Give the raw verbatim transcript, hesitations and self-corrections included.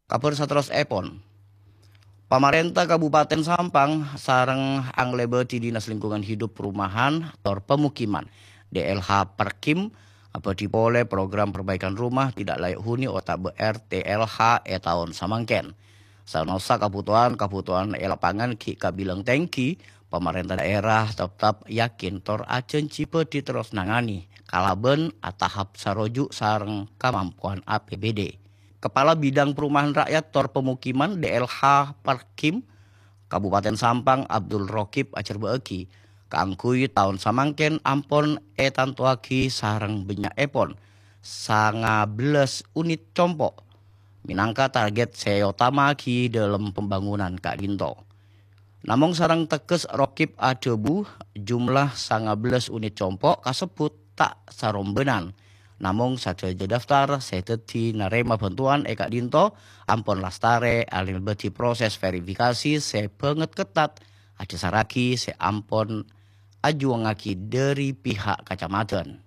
Kabhâr saterrossèpon, pamarènta Kabupaten Sampang sareng anglèbâdhi Dinas Lingkungan Hidup Perumahan tor Pemukiman, D L H Perkim, abâdhi polè program perbaikan rumah tidak layak huni otabâ R T L H è taon samangkèn. Sanaossa kabhutowan-kabhutowan è lapangan ghi' kabilang tèngghi, pamarènta dhaèra teptep yakin tor ajhânjhi bhâdhi terros nangani kalabân atahap saroju' sareng kamampowan A P B D. Kepala Bidang Perumahan Rakyat tor Pemukiman D L H Perkim Kabupaten Sampang Abdul Rokib ajhârbâ'âghi, kaangghuy taon samangkèn ampon ètantowaghi sareng bânnya'èpon sanga bellâs unit compo' mènangka target sè otama'aghi dâlem pembangunan ka'dinto. Namong sareng tegghes Rokib adhâbu, jumlah sanga bellâs unit compo' kasebbhut ta' sarombânan. Namong sadhâjâ daftar sè dhâddhi narèma bhântowan è ka'dinto ampon lastarè alèbâdhi proses verifikasi sè bângèt kettat adhâsarraghi sè ampon ajuwângngaghi dhâri pihak kacamadhân.